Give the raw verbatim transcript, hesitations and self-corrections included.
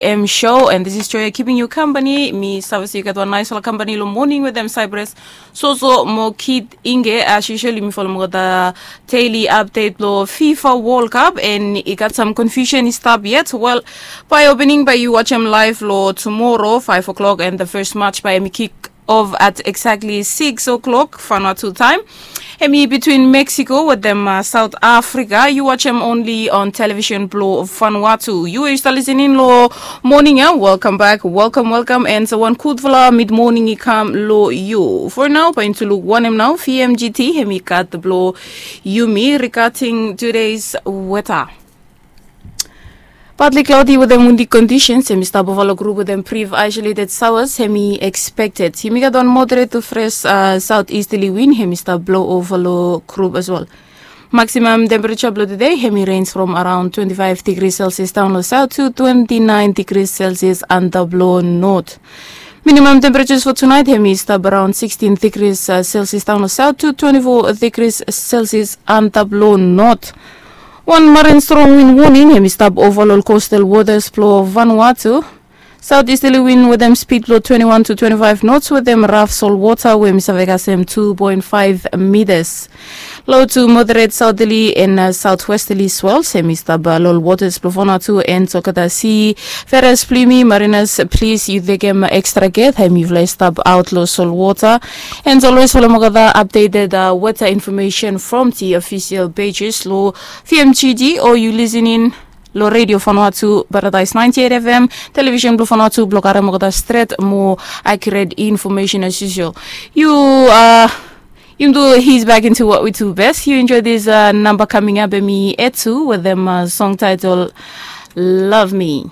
M show, and this is Joya keeping you company. Mi save se yu gat wan nice wala company lo morning with them Cyprus. So so mo kid inge as usual mi follow mo gat the daily update lo FIFA World Cup, and i gat some confusion i stop yet. Well, by opening by you watch him live lo tomorrow five o'clock, and the first match by mi kick off at exactly six o'clock Vanuatu time. Hemi between Mexico with them uh, South Africa. You watch him only on television blo Vanuatu. You are still listening lo morning, eh? Welcome back, welcome, welcome. And so one good fala mid morning i come lo you. For now, pa into look one him now. V M G T hemi got the blo Yumi regarding today's weather. Partly cloudy with them windy conditions. Hemi stap overlo group with them brief isolated showers. Hemi expected. Hemi gat one moderate to fresh uh, southeasterly wind. Hemi stap blow overlo group as well. Maximum temperature blo today hemi range from around twenty-five degrees Celsius down lo south to twenty-nine degrees Celsius and the blow north. Minimum temperatures for tonight hemi stap around sixteen degrees uh, Celsius down lo south to twenty-four degrees Celsius and the blow north. One marine strong wind warning hemi stap overlo coastal waters blo Vanuatu. Southeasterly wind with them speed blo twenty-one to twenty-five knots with them rough salt water wey mi save kasem two point five meters. Low to moderate southerly and uh, southwesterly swells hemi stap uh, lo waters blo Vanuatu and Sokata Sea. Veras plimi mariners, please you take them extra care time you fly stop out lo salt water. And always follow Mogada updated uh, weather information from the official pages lo V M G D or you listening lo Radio Vanuatu Paradise ninety-eight F M, television blo Vanuatu blo kare Mogada straight more accurate information as usual. You uh, you do he's back into what we do best. You enjoy this uh, number coming up and me Etu with them uh, song title Love Me.